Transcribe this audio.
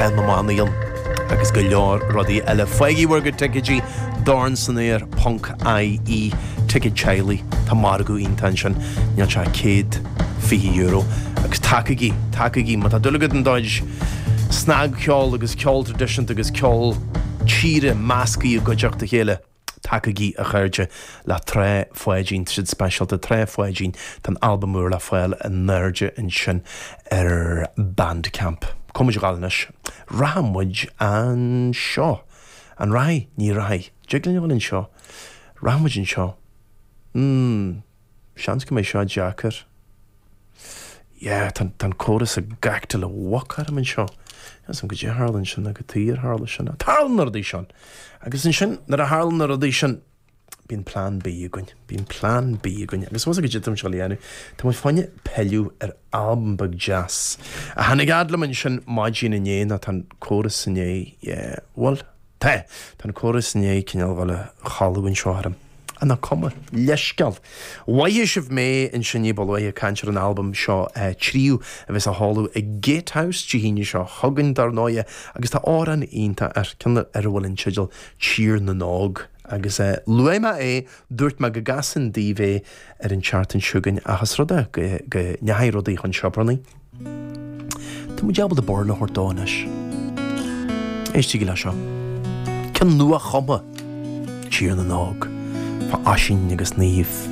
Cath na mBannaí ann agus go leor rudaí eile. Faighigí bhur gcuid ticéidí, dornsanaer ponc ie, ticéid teaghlaigh, tá margadh iontach ansin, níl sé ach €120. Agus tacaigí, tacaigí, má tá dúil agat in do chuid snagcheol agus ceol traidisiúnta agus ceol tíre measctha i gcuideachta a chéile. Tacaigí, a chairde, le Trá Pháidín, tá siad speisialta, Trá Pháidín, tá an albam úr le fáil in airde ansin ar Bandcamp. Cá bhfuil muid ag gabháil anois? Rachaidh muid anseo. An rachaidh? Ní rachaidh. Dtig linn a dhul anseo. Rachaidh muid anseo. Hmm. Seans go mbeidh seo deacair. Yeah, tá an córas ag actáil i bhfoc orm anseo. Níl 's a'm goidé a tharla ansin nó cad chuige ar tharla sin. Tarlaíonn na rudaí sin! Agus ansin, nuair a tharlaíonn na rudaí sin, bíonn plean B againn. Bíonn plean B againn. Agus bhfuil 's agat goidé atá muid a dhéanamh? Tá muid fá choinne pilleadh ar albam beag deas a tháinig fhad liom ansin maidin inné nó tá an córas inné, yeah, bhuel, Tá. Tá an córas i ndiaidh cineál dhul a chodladh anseo orm. Ach nach cuma. Leithscéal. Mhoithigh sibh mé ansin ní ba luaithe ag caint ar an albam seo tríú a bheas á sheoladh ag Gatehouse Dé hAoine seo chugainn dar ndóighe agus tá amhrán iontach air, ceann ar a bhfuil an teideal Tír na nÓg agus luaigh mé é, dúirt mé go gcasfainn daoibh é ar an tseachtain seo chugainn ach is rud é go ndeachaigh rudaí chun siobarnaí. Tá muid ábalta burla a thabhairt dó anois. Éistigí le seo. Ceann nua-chumtha, Tír na nÓg, fá Oisín agus Niamh.